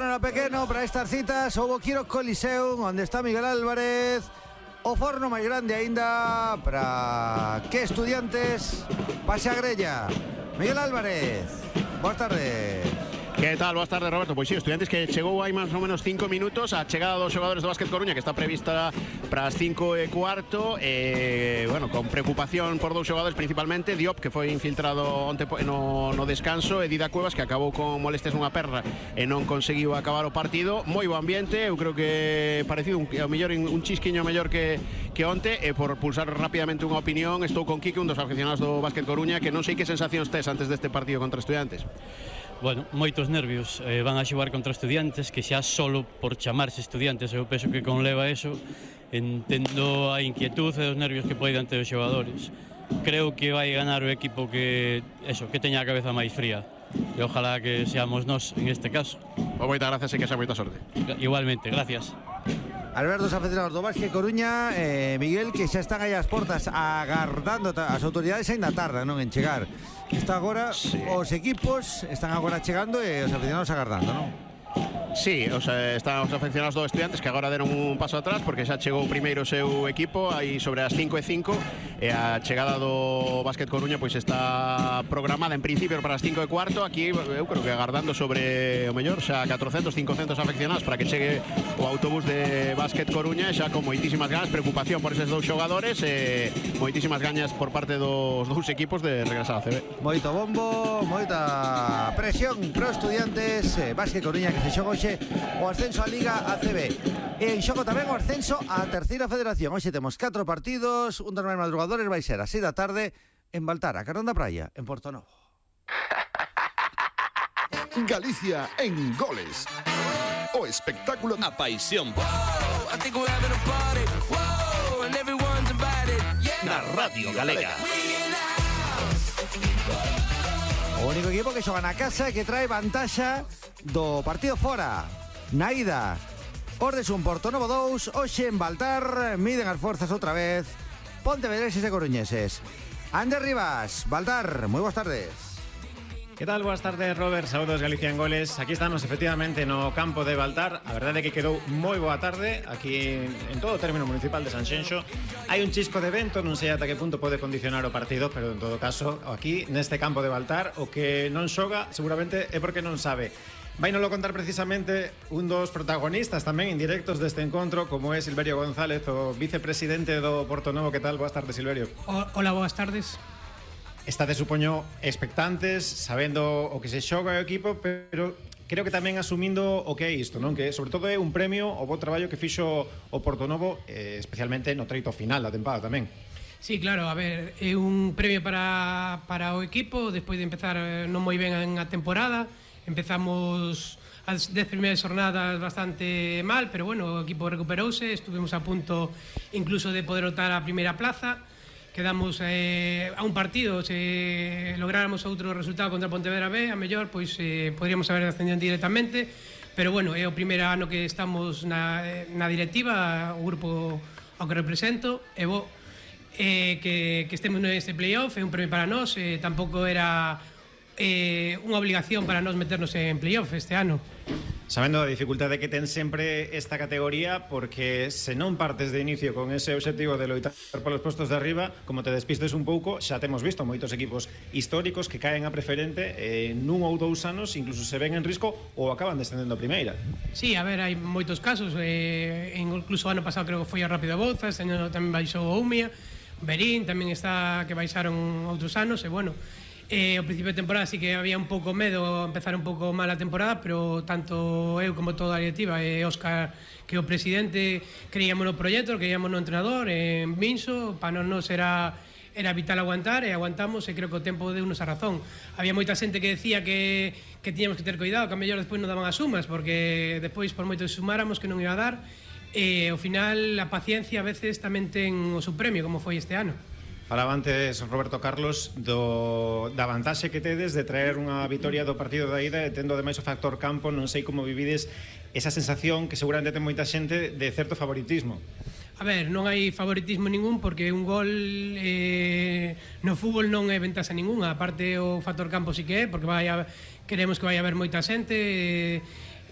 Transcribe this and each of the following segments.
torno era pequeno para estas citas. Houbo Quiro Coliseum, onde está Miguel Álvarez. O forno máis grande aínda para que Estudiantes pase a grella. Miguel Álvarez, boas tardes. Que tal? Boas tardes, Roberto. Pois si, Estudiantes que chegou hai máis ou menos 5 minutos. A chegada dos xogadores do Básquet Coruña, que está prevista para as 5:15. Bueno, con preocupación por dous xogadores, principalmente Diop, que foi infiltrado onte no descanso, e Dida Cuevas, que acabou con molestias nunha perna e non conseguiu acabar o partido. Moi bo ambiente, eu creo que parecido ao mellor un chisquiño mellor que onte. E por pulsar rapidamente unha opinión, estou con Quique, un dos aficionados do Básquet Coruña, que non sei que sensacións tes antes deste partido contra Estudiantes. Bueno, moitos nervios. Van a xogar contra Estudiantes, que xa solo por chamarse Estudiantes eu penso que conleva eso. Entendo a inquietud e os nervios que poden ter os xogadores. Creo que vai ganar o equipo que teña a cabeza máis fría. E ojalá que seamos nós en este caso. Moitas gracias e que xa moita sorte. Igualmente, gracias. Alberto, os aficionados do Básquet Coruña, Miguel, que xa están aí as portas agardando. As autoridades aínda tardan, non, en chegar. Está agora, sí. Os equipos están agora chegando e os aficionados agardando, non? Sí, están os aficionados do Estudiantes, que agora deron un paso atrás porque xa chegou primeiro o seu equipo aí sobre as 5:05, e a chegada do Básquet Coruña pois está programada en principio para as 5:15. Aquí eu creo que agardando sobre o mellor xa 400, 500 afeccionados para que chegue o autobús de Básquet Coruña, xa con moitísimas ganas, preocupación por eses dous xogadores e moitísimas gañas por parte dos dous equipos de regresar a CB. Moito bombo, moita presión pro Estudiantes. Básquet Coruña que se xoga o ascenso a Liga ACB. En xogo tamén o ascenso a Terceira Federación. Hoxe temos 4 partidos. Un dos máis madrugadores vai ser a 6 da tarde en Baltar, a Carón da Praia, en Portonovo. Galicia en goles. O espectáculo, a paixón. Na Radio Galega. O único equipo que xoga na casa e que trae vantaxa do partido fora. Na ida, os de Portonovo 2, hoxe en Baltar, miden as forzas outra vez pontevedreses e coruñeses. Ander Rivas, Baltar, moi boas tardes. Que tal? Boas tardes, Robert. Saúdos, Galicia en goles. Aquí estamos efectivamente no campo de Baltar. A verdade é que quedou moi boa tarde aquí en todo o término municipal de Sanxenxo. Hai un chisco de vento, non sei ata que punto pode condicionar o partido, pero en todo caso, aquí neste campo de Baltar, o que non xoga seguramente é porque non sabe. Vai nolo contar precisamente un dos protagonistas tamén indirectos deste encontro, como é Silverio González, o vicepresidente do Portonovo. Que tal? Boas tardes, Silverio. Hola, boas tardes. Estades, supoño, expectantes, sabendo o que se xoga o equipo, pero creo que tamén asumindo o que é isto, non? Que sobre todo é un premio ao bo traballo que fixo o Portonovo, especialmente no treito final da tempada tamén. Sí, claro, a ver, é un premio para o equipo despois de empezar non moi ben a temporada. Empezamos as 10 primeiras jornadas bastante mal, pero bueno, o equipo recuperouse, estuvimos a punto incluso de poder optar a primeira plaza. Quedamos a un partido, se lográramos outro resultado contra Pontevedra B, a mellor pois podríamos haber ascendido directamente, pero bueno, é o primeiro ano que estamos na directiva, o grupo ao que represento, e bo que estemos neste playoff, é un premio para nós, tampouco era unha obligación para nós meternos en playoff este ano. Sabendo a dificultade que ten sempre esta categoría, porque se non partes de inicio con ese obxectivo de loitar polos postos de arriba, como te despistes un pouco, xa temos visto moitos equipos históricos que caen a preferente nun ou dous anos, incluso se ven en risco ou acaban descendendo a primeira. Sí, a ver, hai moitos casos, incluso o ano pasado creo que foi a Rápido Bouzas, este ano tamén baixou o Umia, Berín tamén está, que baixaron outros anos, e bueno, ao principio de temporada sí que había un pouco medo empezar un pouco mal a temporada, pero tanto eu como toda a directiva e Óscar, que é o presidente, creíamos no proxecto, creíamos no entrenador, en Minso, para non era vital aguantar, e aguantamos, e creo que o tempo deu-nos a razón. Había moita xente que decía que tiñamos que ter cuidado, que a mellor despois non daban as sumas, porque despois por moito que sumáramos que non iba a dar, e ao final a paciencia a veces tamén ten o seu premio, como foi este ano. Falaba antes Roberto Carlos da vantaxe que tedes de traer unha vitoria do partido da ida, e tendo ademais o factor campo, non sei como vivides esa sensación que seguramente ten moita xente de certo favoritismo. A ver, non hai favoritismo ningún, porque un gol no fútbol non é ventaxa ninguna. Aparte o factor campo sí que é, porque queremos que vai haber moita xente,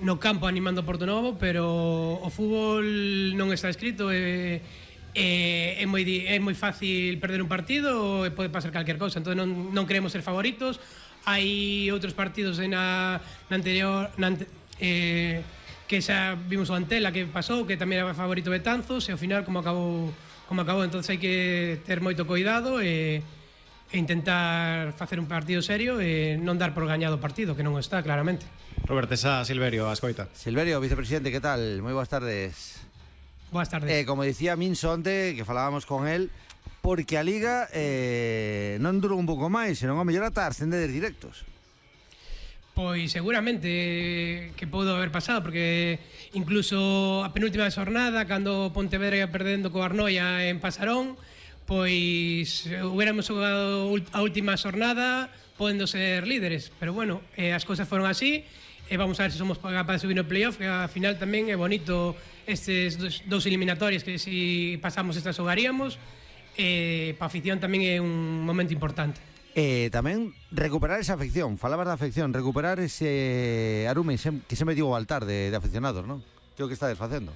no campo animando o Portonovo, pero o fútbol non está escrito, é moi fácil perder un partido e pode pasar calquer cousa, entón non queremos ser favoritos. Hai outros partidos na anterior que xa vimos o Antela que pasou, que tamén era favorito Betanzos, e ao final como acabou, entón hai que ter moito cuidado e intentar facer un partido serio e non dar por gañado o partido, que non está, claramente. Robert, esa Silverio, a escoita. Silverio, vicepresidente, que tal? Moi boas tardes. Boas tardes. Como dicía Minso onte, que falábamos con él, porque a Liga non durou un pouco máis, senón ao mellor ata ascender directos. Pois seguramente que pode haber pasado, porque incluso a penúltima xornada, cando Pontevedra ia perdendo co Arnoia en Pasarón, pois hubiéramos jogado a última xornada podendo ser líderes, pero bueno, as cousas foron así, e vamos a ver se somos capaces de subir no playoff, que ao final tamén é bonito estes dous eliminatorias que si pasamos estas xogaríamos, para a afición tamén é un momento importante. Tamén recuperar esa afección, falabas da afección, recuperar ese arume que se metió ao altar de aficionados, non? Que é o que estades facendo?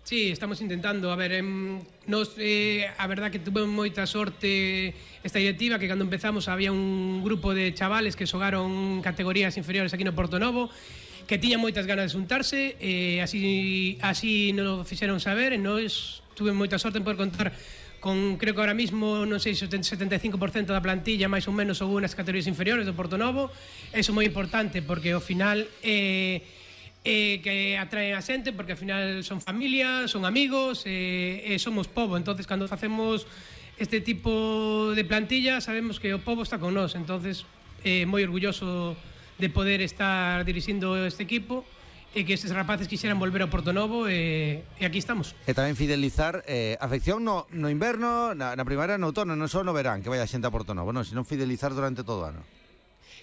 Sí, estamos intentando, a ver, a verdad que tuve moita sorte esta directiva, que cando empezamos había un grupo de chavales que xogaron categorías inferiores aquí no Portonovo, que tiñan moitas ganas de xuntarse, así nos fixeron saber, e nós tuve moita sorte en poder contar con, creo que ahora mismo, non sei, 75% da plantilla máis ou menos son unas categorías inferiores do Portonovo. Eso é moi importante, porque ao final que atraen a xente, porque ao final son familia, son amigos, e somos pobo. Entonces, cando facemos este tipo de plantilla, sabemos que o pobo está con nós. Entonces, moi orgulloso de poder estar dirixindo este equipo e que estes rapaces quixeran volver ao Portonovo, e aquí estamos. E tamén fidelizar afección no inverno, na primavera, no outono, non só no verán que vai a xente a Portonovo, non, senón fidelizar durante todo o ano.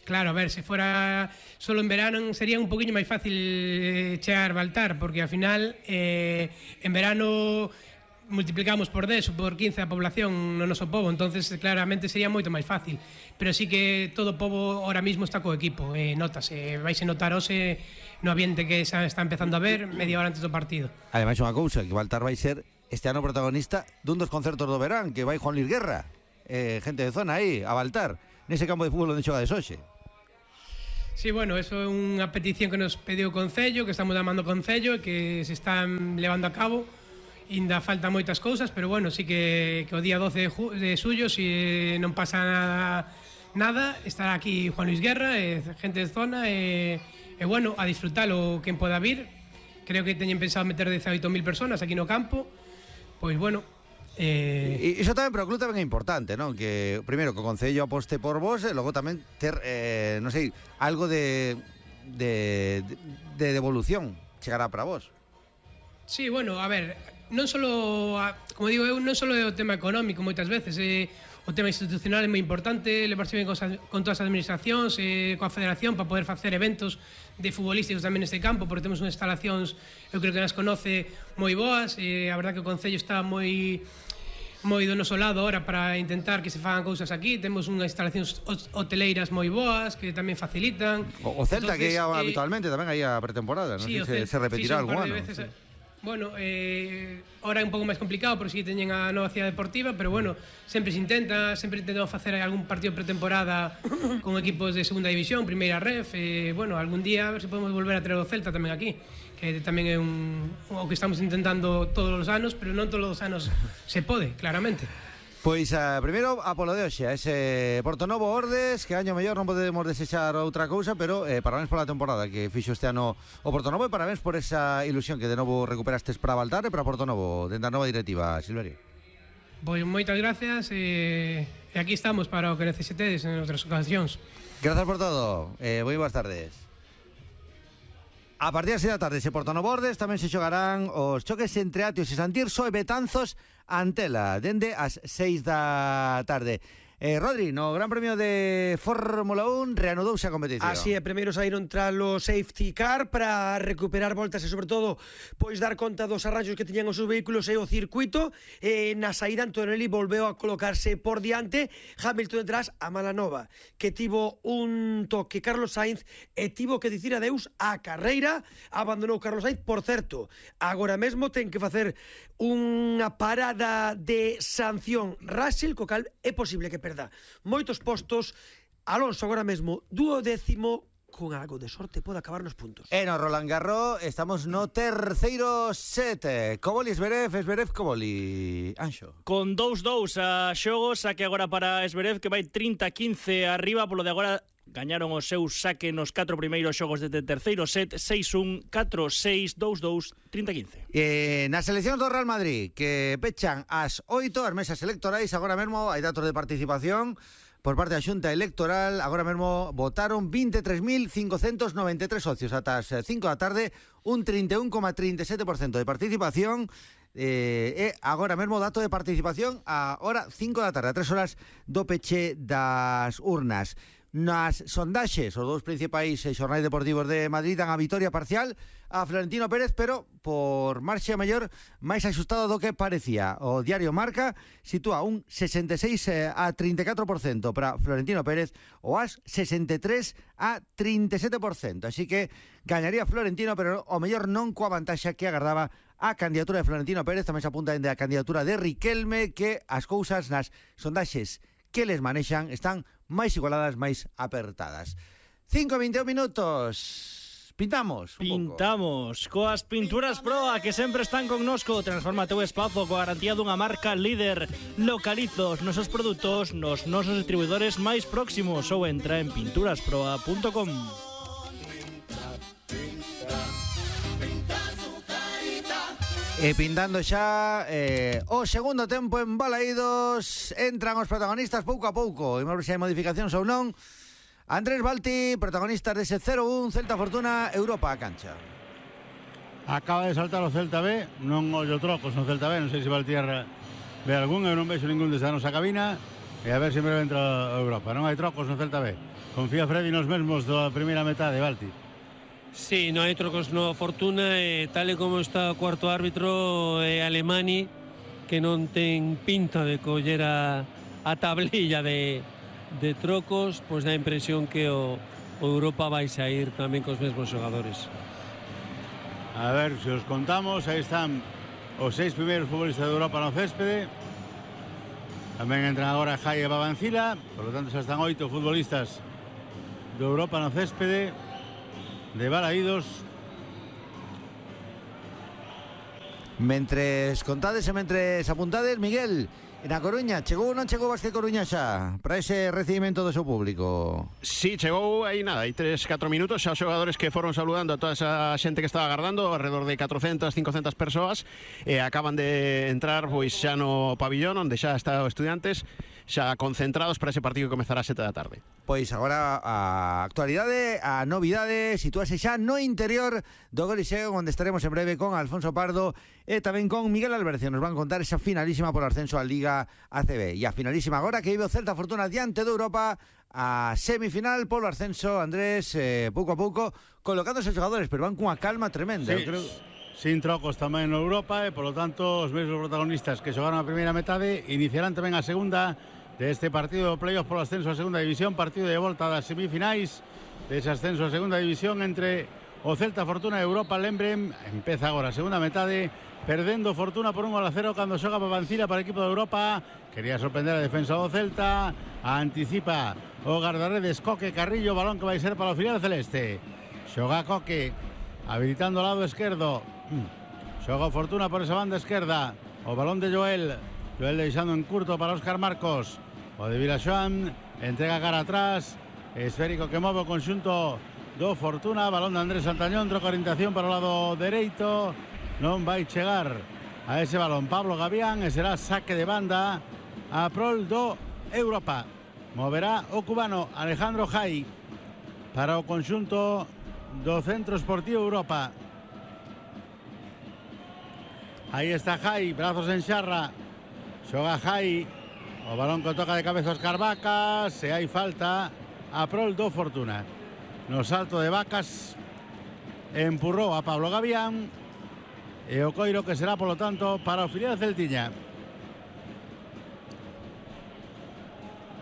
Claro, a ver, se fora solo en verano sería un poquinho máis fácil chegar a Baltar, porque ao final en verano multiplicamos por 10 ou por 15 a población no noso pobo, entonces claramente sería moito máis fácil, pero sí que todo o pobo ahora mismo está co equipo, notase, vais a notar hoxe no ambiente que xa está empezando a ver media hora antes do partido. Ademais, unha cousa, que Baltar vai ser este ano protagonista dun dos concertos do verán, que vai Juan Luis Guerra, gente de zona aí, a Baltar, nese campo de fútbol onde xogades hoxe. Sí, bueno, eso é unha petición que nos pediu o Concello, que estamos llamando o Concello e que se están levando a cabo. Ainda faltan moitas cousas, pero bueno, sí que o día 12 de xullo, se non pasa nada, estará aquí Juan Luis Guerra, gente de zona, e bueno, a disfrutalo quen poda vir. Creo que teñen pensado meter 18.000 personas aquí no campo, pois bueno. E iso tamén para o club tamén é importante, non? Que primeiro que o Concello aposte por vos, e logo tamén ter, non sei, algo de devolución chegará para vos. Sí, bueno, a ver, non solo, como digo eu, non solo é o tema económico moitas veces, o tema institucional é moi importante, levarse ben con todas as administracións, coa federación, para poder facer eventos de futbolísticos tamén neste campo, porque temos unhas instalacións, eu creo que nas conoce, moi boas, a verdad que o Concello está moi do noso lado ahora para intentar que se fagan cousas aquí. Temos unhas instalacións hoteleiras moi boas que tamén facilitan. O Celta, entonces, que ia habitualmente tamén aí a pretemporada, non sei se repetirá algún ano. Bueno, ahora é un pouco máis complicado porque sí teñen a nova cidade deportiva, pero bueno, sempre se intenta, sempre intentamos facer algún partido pretemporada con equipos de segunda división, primeira ref, bueno, algún día a ver se podemos volver a traer o Celta tamén aquí, que tamén é o que estamos intentando todos os anos, pero non todos os anos se pode, claramente. Pois primeiro a polo de hoxe, ese Portonovo Ordes, que año mellor non podemos desexar outra cousa, pero parabéns pola temporada que fixo este ano o Portonovo, e parabéns por esa ilusión que de novo recuperastes para Baltar e para Portonovo dentro da nova directiva, Silverio. Pois moitas gracias, e aquí estamos para o que necesitedes en outras ocasións. Grazas por todo, moi boas tardes. A partir das 6 da tarde, se Portonovo Ordes, tamén se xogarán os choques entre Atios e Santirso e Betanzos Antela, dende as 6 da tarde. Rodri, no Gran Premio de Fórmula 1 reanudouse a competición. Así é, primeiro saíron tras o safety car para recuperar voltas e sobre todo pois dar conta dos arranxos que tiñan os seus vehículos e o circuito. Na saída Antonelli volveu a colocarse por diante, Hamilton detrás, a mala nova que tivo un toque Carlos Sainz e tivo que dicir adeus á carreira. Abandonou Carlos Sainz, por certo, agora mesmo ten que facer unha parada de sanción Russell, co cal é posible que perda moitos postos. Alonso agora mesmo 12º, con algo de sorte pode acabar nos puntos. E no Roland Garros estamos no terceiro set. Koboli, Zverev, Koboli, Anxo. Con 2-2 a xogos, saque agora para Zverev, que vai 30-15 arriba, polo de agora gañaron o seu saque nos 4 primeiros xogos desde terceiro set, 6-1, 4-6, 2-2, 30-15. Nas eleccións do Real Madrid, que pechan as 8 as mesas electorais, agora mesmo hai datos de participación por parte da Xunta Electoral. Agora mesmo votaron 23.593 socios ata as 5 da tarde, un 31,37% de participación. E agora mesmo dato de participación a hora 5 da tarde, a 3 horas do peche das urnas. Nas sondaxes, os dous principais xornais deportivos de Madrid dan a vitoria parcial a Florentino Pérez, pero por marxa maior máis axustado do que parecía. O diario Marca sitúa un 66 a 34% para Florentino Pérez, o AS 63 a 37%. Así que gañaría Florentino, pero o mellor non coa vantaxa que agardaba a candidatura de Florentino Pérez. Tamén se apunta a candidatura de Riquelme, que as cousas nas sondaxes que les manexan están máis igualadas, máis apertadas. 5:21 minutos. Pintamos coas Pinturas Proa, que sempre están connosco. Transforma teu espazo coa garantía dunha marca líder. Localiza os nosos produtos nos nosos distribuidores máis próximos ou entra en pinturasproa.com. E pintando xa o segundo tempo en Balaídos. Entran os protagonistas pouco a pouco. Imos ver se hai modificacións ou non. Andrés Balti, protagonistas dese 0-1 Celta Fortuna, Europa a cancha. Acaba de saltar o Celta B, non ollo trocos no Celta B, non sei se Valtierra ve algún, eu non vexo ningún desde a nosa cabina, e a ver se me entra a Europa. Non hai trocos no Celta B. Confía Freddy nos mesmos da primeira metade, Balti. Sí, non hai trocos no Fortuna, e tal e como está o cuarto árbitro Alemani, que non ten pinta de coller a tablilla de trocos, pois dá a impresión que o Europa vai sair tamén cos mesmos xogadores. A ver, se os contamos, aí están os 6 primeiros futbolistas de Europa no céspede. Tamén entran agora Jai e Babancila, por lo tanto xa están 8 futbolistas de Europa no céspede de Balaídos. Mentres contades e mentres apuntades, Miguel, na Coruña, chegou ou non chegou Vázquez Coruña xa para ese recibimento do seu público? Sí, chegou aí nada, aí 3-4 minutos, xa os xogadores que foron saludando a toda esa xente que estaba agardando, alrededor de 400, 500 persoas, e acaban de entrar pois xa no pabillón onde xa está os estudiantes, xa concentrados para ese partido que comezará a 7 da tarde. Pois agora a actualidade, a novidade, sitúase xa no interior do Coliseo, onde estaremos en breve con Alfonso Pardo e tamén con Miguel Albercio. Nos van contar esa finalísima por ascenso a Liga ACB. E a finalísima agora que vive o Celta Fortuna diante de Europa, a semifinal polo ascenso, Andrés, pouco a pouco colocándose os xogadores, pero van cunha calma tremenda. Sí, creo, sin trocos tamén no Europa, e polo tanto os mesmos protagonistas que xogaron a primeira metade iniciarán tamén a segunda deste partido de playoff polo ascenso a segunda división, partido de volta das semifinais dese ascenso a segunda división entre o Celta Fortuna e Europa. Lembrem, empeza agora a segunda metade, perdendo Fortuna por 1-0 cando xoga Babancila para o equipo de Europa. Quería sorprender a defensa do Celta, anticipa o guardaredes Coque Carrillo, balón que vai ser para o filial celeste. Xoga Coque, habilitando o lado esquerdo, xoga Fortuna por esa banda esquerda, o balón de Joel deixando en curto para Óscar Marcos. O de Vilaxoán entrega cara atrás, esférico que move o conxunto do Fortuna, balón de Andrés Santañón, troca orientación para o lado dereito, non vai chegar a ese balón Pablo Gavián e será saque de banda a prol do Europa. Moverá o cubano Alejandro Jai para o conxunto do Centro Esportivo Europa. Aí está Jai, brazos en xarra, xoga Jai, O balón que toca de cabeza Óscar Vacas. Se hai falta a prol do Fortuna. No salto de Vacas empurrou a Pablo Gavián. E o coiro que será, polo tanto, para o filial celtiña.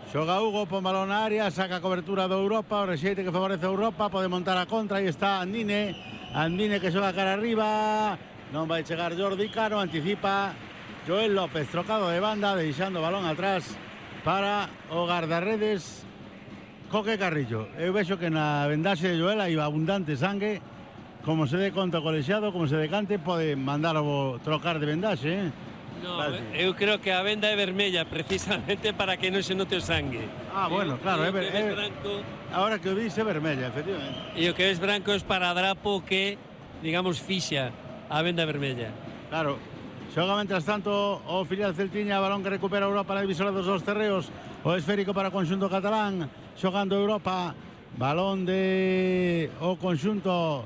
Xoga Hugo, pon balón na área, saca a cobertura do Europa, o rexeite que favorece a Europa, pode montar a contra, aí está Andine. Andine que xoga cara arriba, non vai chegar Jordi Cano, anticipa Joel López, trocado de banda, deixando o balón atrás para o guardarredes Coque Carrillo. Eu vexo que na vendaxe de Joel hai abundante sangue, como se dé conta o colexiado, como se decante, pode mandar o trocar de vendaxe, No, eu creo que a venda é vermella precisamente para que non se note o sangue. Bueno, claro, branco. Ahora que o dice vermella, efectivamente. E o que ves branco é para drapo que, digamos, fixa a venda vermella. Claro. Xoga, mentras tanto, o filial celtiña, balón que recupera Europa na divisora dos dos terreos, o esférico para o conxunto catalán, xogando Europa, balón de o conxunto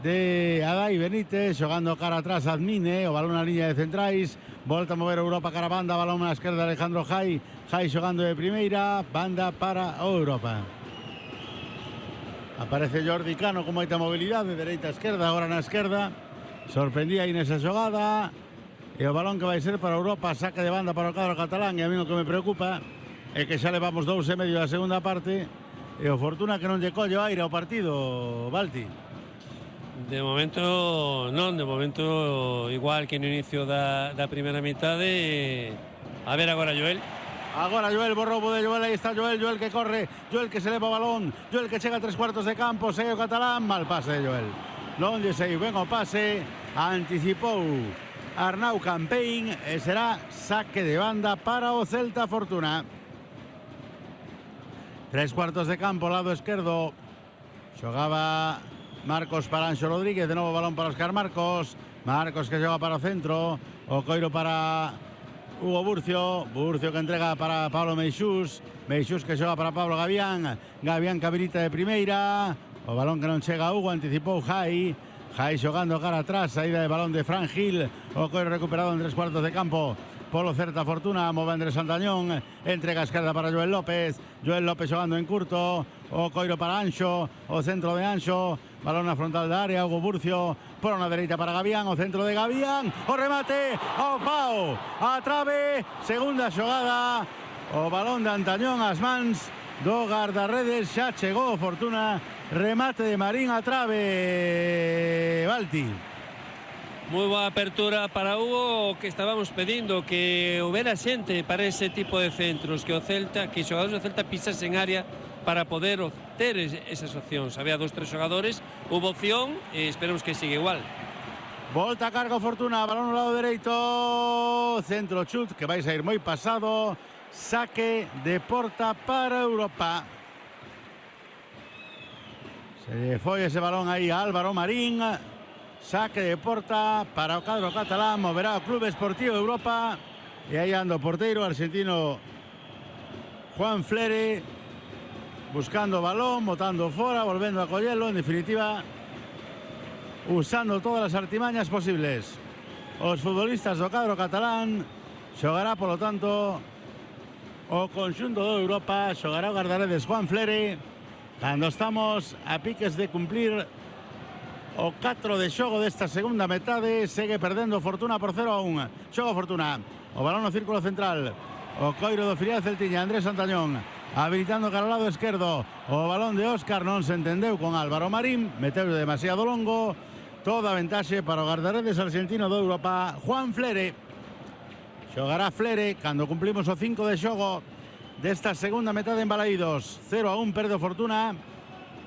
de Adai Benítez, xogando cara atrás Admine, o balón na liña de centrais, volta a mover Europa cara a banda, balón na esquerda Alejandro Jai, Jai xogando de primeira, banda para o Europa. Aparece Jordi Cano con moita mobilidade, dereita a esquerda, agora na esquerda, sorprendía aí nesa xogada, e o balón que vai ser para Europa, saque de banda para o cadro catalán, e a mí o que me preocupa é que xa levamos 2,5 da segunda parte, e o Fortuna que non lle colle o aire ao partido, Balti. De momento non, de momento igual que no inicio da primeira mitade. A ver agora Joel. Agora Joel, bo roubo de Joel, aí está Joel, Joel que corre, Joel que se leva o balón, Joel que chega a 3/4 de campo, segue o catalán, mal pase de Joel. Non lle sei, ben o pase, anticipou Arnau Campain e será saque de banda para o Celta Fortuna. 3/4 de campo, lado esquerdo, xogaba Marcos para Anxo Rodríguez, de novo balón para Óscar Marcos, Marcos que xoga para o centro, o coiro para Hugo Burcio, Burcio que entrega para Pablo Meixús, Meixús que xoga para Pablo Gavián, Gavián que habilita de primeira, o balón que non chega a Hugo, anticipou Jai, Jai xogando cara atrás, saída de balón de Fran Gil, o coiro recuperado en 3/4 de campo polo Celta Fortuna, move Andrés Santañón, entrega a esquerda para Joel López, Joel López xogando en curto, o coiro para Anxo, o centro de Anxo, balón na frontal da área, Hugo Burcio, por unha dereita para Gavián, o centro de Gavián, o remate, ao pau, a trave, segunda xogada, o balón de Antañón ás mans do guardarredes, xa chegou Fortuna, remate de Marín a trave, Balti. Moi boa apertura para Hugo, que estábamos pedindo que houbera xente para ese tipo de centros, que o Celta, que os xogadores do Celta pisasen área para poder ter esas opcións. Había 2-3 xogadores, hubo opción e esperemos que siga igual. Volta a cargo Fortuna, balón no lado dereito, centro chut que vais a ir moi pasado, saque de porta para Europa. Se foi ese balón aí a Álvaro Marín, saque de porta para o cadro catalán, moverá o Club Esportivo Europa, e aí anda o porteiro argentino Juan Flere, buscando o balón, botando fora, volvendo a collelo, en definitiva usando todas as artimañas posibles. Os futbolistas do cadro catalán xogará, polo tanto, o conxunto do Europa, xogará o guardaredes Juan Flere, cando estamos a piques de cumplir o 4 de xogo desta segunda metade. Segue perdendo Fortuna por 0-1. Xogo Fortuna, o balón no círculo central, o coiro do filial celtiña, Andrés Santañón, habilitando cara ao lado esquerdo, o balón de Óscar non se entendeu con Álvaro Marín, meteu demasiado longo, toda a ventaxe para o guardaredes argentino do Europa, Juan Flere. Xogará Flere cando cumplimos o 5 de xogo desta segunda metade en Balaídos. 0-1 perde Fortuna,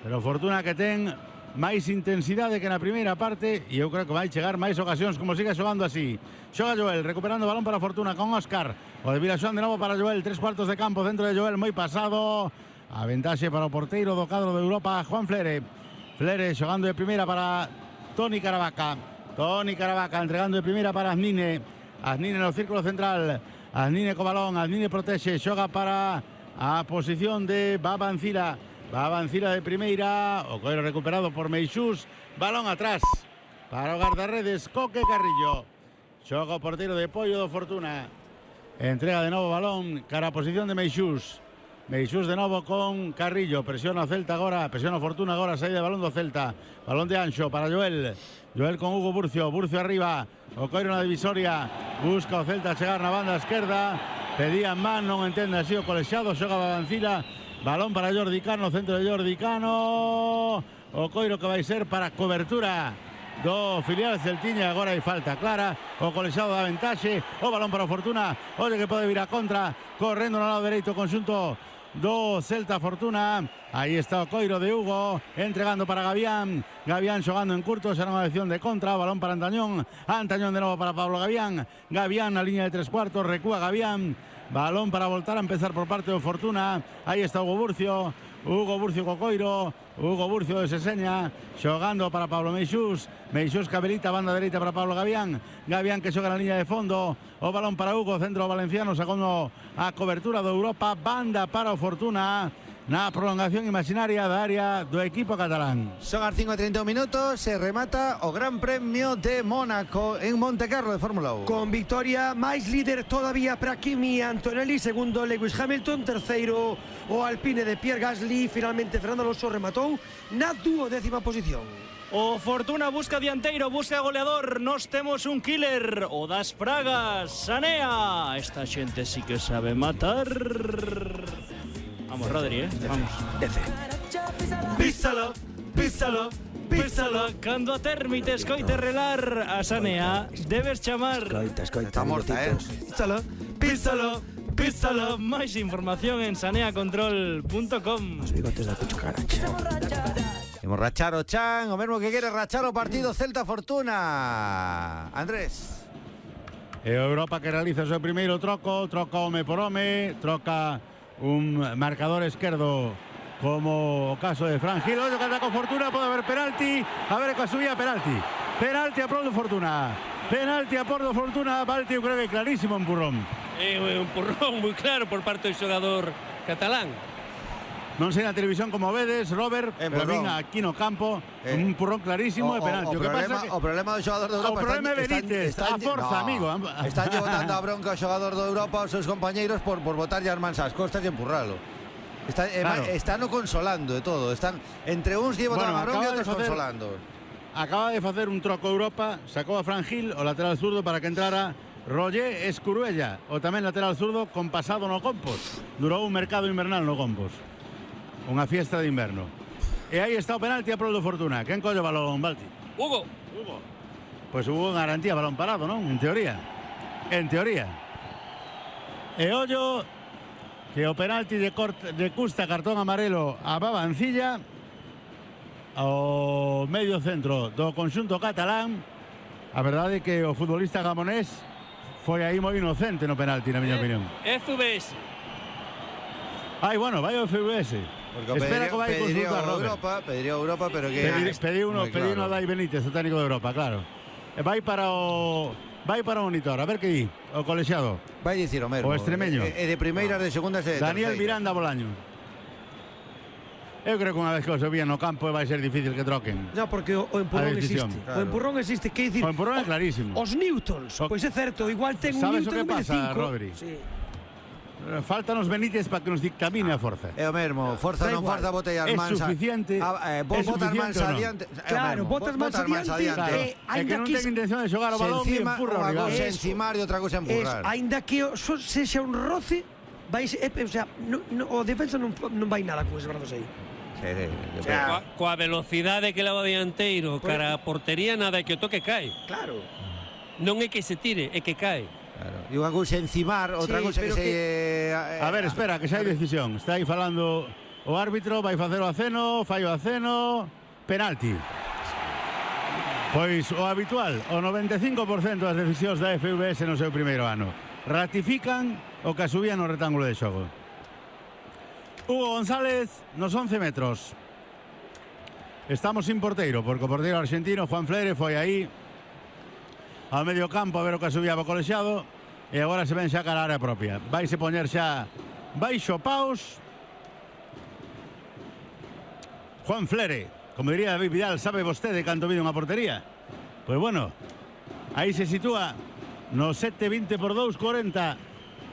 pero Fortuna que ten máis intensidade que na primeira parte, e eu creo que vai chegar máis ocasións como siga xogando así. Xoga Joel, recuperando o balón para Fortuna con Óscar, o de Vilaxoán de novo para Joel, 3/4 de campo, centro de Joel moi pasado, a ventaxe para o porteiro do cadro de Europa, Juan Flere. Flere xogando de primeira para Toni Caravaca, Toni Caravaca entregando de primeira para Aznine, Aznine no círculo central, Aznine co balón, Aznine protexe, xoga para a posición de Baba Ancira, Baba Ancira de primeira, o coiro recuperado por Meixús, balón atrás para o guardarredes Coque Carrillo. Xoga o porteiro de Pollo do Fortuna, Entrega de novo balón cara a posición de Meixús. Meixús de novo con Carrillo. Presiona o Celta agora, presiona o Fortuna agora, saída de balón do Celta. Balón de Anxo para Joel. Joel con Hugo Burcio. Burcio arriba. O Coiro na divisoria. Busca o Celta chegar na banda esquerda. Pedían man, non entende así o colexiado. Xoga Babancila. Balón para Jordi Cano, centro de Jordi Cano. O Coiro que vai ser para cobertura do filial Celtiña. Agora hai falta clara. O colexiado da ventaxe. O balón para o Fortuna. Oye que pode vir a contra. Correndo no lado dereito conxunto do Celta Fortuna. Aí está o Coiro de Hugo, entregando para Gavián. Gavián xogando en curto, será unha acción de contra. Balón para Antañón. Antañón de novo para Pablo Gavián. Gavián na línea de 3/4, recúa Gavián. Balón para voltar a empezar por parte do Fortuna. Aí está Hugo Burcio. Hugo Burcio co Coiro. Hugo Burcio de Seseña xogando para Pablo Meixús. Meixús cabelita, banda dereita para Pablo Gavián. Gavián que xoga na línea de fondo. O balón para Hugo, centro valenciano, sacando a cobertura do Europa. Banda para o Fortuna na prolongación imaginaria da área do equipo catalán. Son as 5:31 minutos, se remata o Gran Premio de Mónaco en Montecarlo de Fórmula 1. Con victoria, máis líder todavía para Kimi Antonelli, segundo Lewis Hamilton, terceiro o Alpine de Pierre Gasly, finalmente Fernando Alonso rematou na 12ª posición. O Fortuna busca dianteiro, busca goleador. Nos temos un killer, o das pragas, Sanea. Esta xente sí que sabe matar. Vamos, Rodri, vamos. Písalo, písalo, písalo. Cando a termite escoite relar a Sanea, debes chamar. Escoita, está morta, Písalo, písalo, písalo. Máis información en saneacontrol.com. Os bigotes da cucharacha. Imos rachar o chan, o mesmo que quere rachar o partido Celta Fortuna. Andrés. E Europa que realiza o seu primeiro troco. Troca home por home. Troca un marcador esquerdo como o caso de Fran Gil. Ollo que ata con Fortuna, pode haber penalti. A ver que subía penalti. Penalti a prol do Fortuna. Penalti a prol do Fortuna. Balti, eu creo que clarísimo empurrón. Un empurrón moi claro por parte do xogador catalán. Non sei na televisión como vedes, Robert, pero vin aquí no campo un empurrón clarísimo de penalti. O problema do xogador de Europa... O problema é Benítez, a forza, amigo. Están botando a bronca ao xogador do Europa aos seus compañeiros por botarlle as mans ás costas e empurralo. Están o consolando de todo. Están entre uns que botan a bronca e outros consolando. Acaba de facer un troco Europa, sacou a Fran Gil, o lateral zurdo, para que entrara Roger Escuruella, o tamén lateral zurdo con pasado no Compos. Durou un mercado invernal no Compos. Unha fiesta de inverno. E aí está o penalti a prol do Fortuna. Quen colle o balón, Balti? Hugo. Pois hubo garantía balón parado, non? En teoría. E ollo que o penalti de custa cartón amarelo a Babancilla ao medio centro do conxunto catalán. A verdade é que o futbolista gamonés foi aí moi inocente no penalti, na miña opinión. FBS. Ai, bueno, vai o FBS. Espera que vai consultar Pediría Europa, pero que... Pediu uno Dai Benítez, o técnico de Europa, claro. Vai para o monitor, a ver que di, o colexiado. Vai dicir o mesmo. O extremeño. E de primeiras, de segundas e de Daniel terceiras. Miranda Bolaño. Eu creo que unha vez que o subían no campo vai ser difícil que troquen. No, porque o empurrón existe. Claro. O empurrón existe, que dicir... O empurrón é clarísimo. Os newtons, pois é certo, igual ten un newton de 5. Sabes o que pasa, Rodri? Sí. Faltan os Benítez para que nos dictamine a forza. É o mesmo, forza non forza, botei as mans. É suficiente. Botas mans adiante. Claro, botas mans adiante. É que non ten intención de xogar o balón e empurra o rival. Unha cousa encimar e outra cousa empurrar. Ainda que sexa un roce, o sea, o defensa non vai nada con ese brazo aí. Coa velocidade que leva o dianteiro cara a portería, nada que o toque cae. Claro. Non é que se tire, é que cae. Claro. E unha cousa encimar, outra cousa que se... A ver, espera, que xa hai decisión. Está aí falando o árbitro, vai facer o aceno, fai o aceno, penalti. Pois o habitual, o 95% das decisións da FVS no seu primeiro ano ratifican o que subía no rectángulo de xogo. Hugo González nos 11 metros. Estamos sin porteiro, porque o porteiro argentino Juan Flere foi aí ao medio campo a ver o que subía o colexiado e agora se ven xa cara a área propia. Vaise poñer xa baixo paus Juan Flere. Como diría David Vidal, sabe vostede canto vide unha portería? Pois bueno, aí se sitúa no 7-20 por 2, 40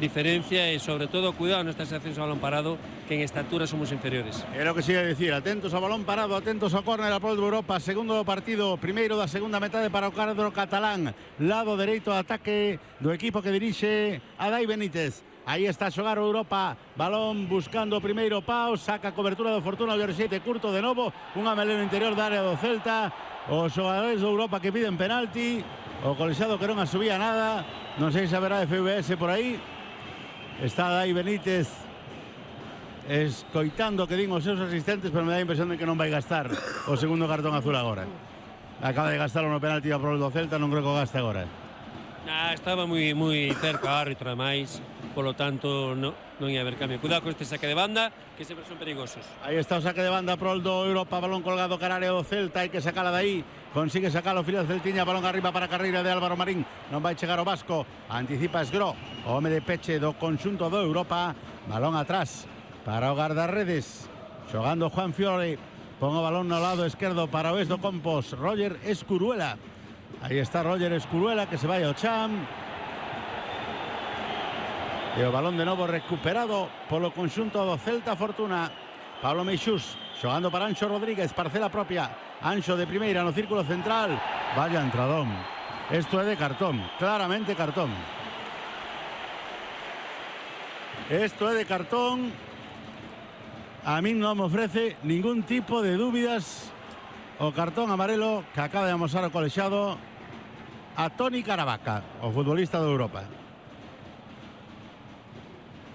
diferencia e sobre todo cuidado nestas accións a balón parado, que en estatura somos inferiores. É o que se ia dicir, atentos ao balón parado, atentos ao córner a prol de Europa, segundo do partido, primeiro da segunda metade para o cadro catalán, lado dereito ataque do equipo que dirixe Adai Benítez. Aí está a xogar o Europa, balón buscando o primeiro pau, saca a cobertura do Fortuna, o Xeite curto de novo, unha melena interior da área do Celta, os xogadores do Europa que piden penalti, o colexiado que non asubía nada, non sei se haberá FVS por aí, está Adai Benítez escoitando que din os seus asistentes, pero me dá a impresión de que non vai gastar o segundo cartón azul agora. Acaba de gastar no penalti a prol do Celta, non creo que o gaste agora. Estaba moi cerca o árbitro, ademais, polo tanto non ia haber cambio. Cuidado con este saque de banda, que sempre son perigosos. Aí está o saque de banda prol do Europa, balón colgado cara área do Celta, hai que sacala dai, consigue sacalo Filial Celtiña, balón arriba para a carreira de Álvaro Marín, non vai chegar o Vasco, anticipa Esgro, o home de peche do conxunto do Europa, balón atrás para o guardarredes, xogando Juan Fiore, pon o balón no lado esquerdo para o do Compos, Roger Escuruela. Aí está Roger Escuruela, que se vai ao Cham. E o balón de novo recuperado polo conxunto do Celta Fortuna. Pablo Meixús xogando para Anxo Rodríguez, parcela propia. Anxo de primeira no círculo central. Vaya entradón. Esto é de cartón, claramente cartón. Esto é de cartón. A min non me ofrece ningún tipo de dúbidas o cartón amarelo que acaba de amosar o colexiado a Toni Caravaca, o futbolista de Europa.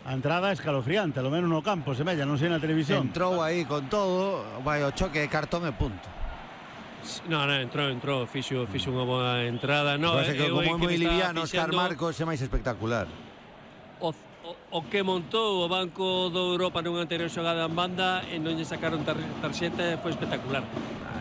A entrada escalofriante, lo menos no campo, semella, non sei na televisión. Entrou aí con todo, vai o choque de cartón e punto. No, entrou, fixo unha boa entrada. No, que como é moi liviano, Óscar Marcos é máis espectacular. O que montou o banco do Europa nunha anterior xogada en banda e non lle sacaron tarxeta, foi espectacular.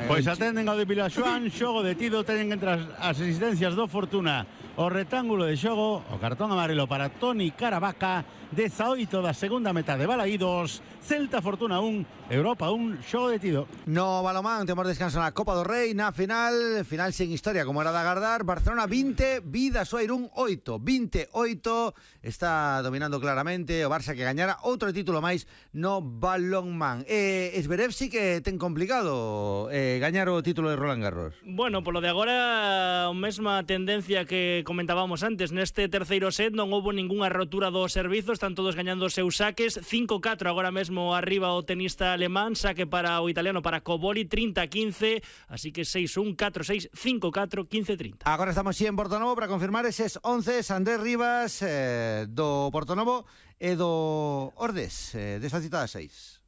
Pois atenden ao de Vilaxoán, xogo detido, teñen entre as asistencias do Fortuna o retángulo de xogo, o cartón amarelo para Toni Caravaca, 18 da segunda metade, balaídos, Celta Fortuna 1, Europa 1, xogo detido. No balomán temos descanso na Copa do Rei, na final sen historia como era de agardar, Barcelona 20, Bidasoa-Irún 8, 28, está dominando claramente o Barça que gañara outro título máis no balonmán. Zverev sí que ten complicado gañar o título de Roland Garros. Bueno, polo de agora, a mesma tendencia que comentábamos antes, neste terceiro set non houbo ningunha rotura do servizo, están todos gañando os seus saques, 5-4 agora mesmo arriba o tenista alemán, saque para o italiano, para Coboli, 30-15, así que 6-1, 4-6, 5-4, 15-30. Agora estamos aquí en Portonovo para confirmar eses 11, Andrés Rivas do Portonovo e do Ordes, desa cita 6.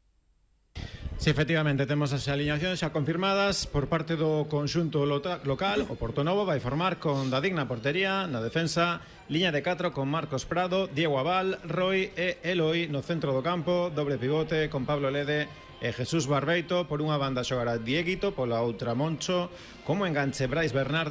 Sí, efectivamente, temos as alineacións xa confirmadas por parte do conxunto local. O Portonovo vai formar con Dadig na portería, na defensa, liña de 4 con Marcos Prado, Diego Abal, Roy e Eloi no centro do campo, doble pivote con Pablo Lede e Jesús Barbeito. Por unha banda xogará Dieguito, pola outra Moncho, como enganche Brais Bernarde.